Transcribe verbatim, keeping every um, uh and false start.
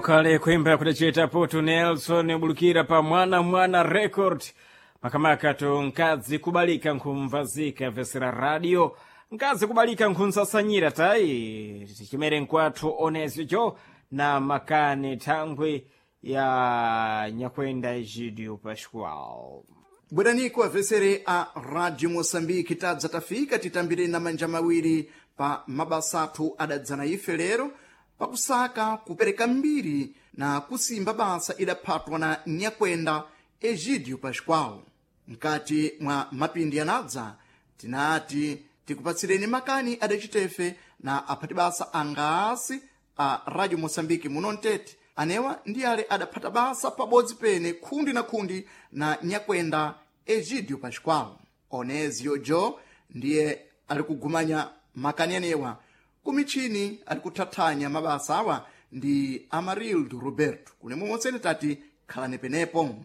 Kale kuimba kudachita poto Nelson ubulukira pa Mwana Mwana Record, makamaka to nkazi kubalika nkhumvazika vesera radio, nkazi kubalika nkhunsasanyira tayi tichimere nkwathu onesio jo na makani thangwi ya nyakwenda Egidio Pascual. Bweraniko avesere a Radio Moçambique, tadza tafika titambire na manja mawiri pa mabasa athu adadzana ife lero pakusaka kupereka mbiri na kusimba basa idaphatwa na nyakwenda Egidio Pascual. Mkati mwa mapindi anadza tinati tikupatsireni makani adacitefe na aphati basa angasi a Radio Moçambique muno mtete, anewa ndi ale adaphata basa pabodzi pene khundi na khundi na nyakwenda Egidio Pascual. Onezio jo ndiye ali kugumanya makani anewa kumichini ali kuthathanya mabasa awa ndi Amarildo Roberto. Kunemwe monsene tati khalani penepo.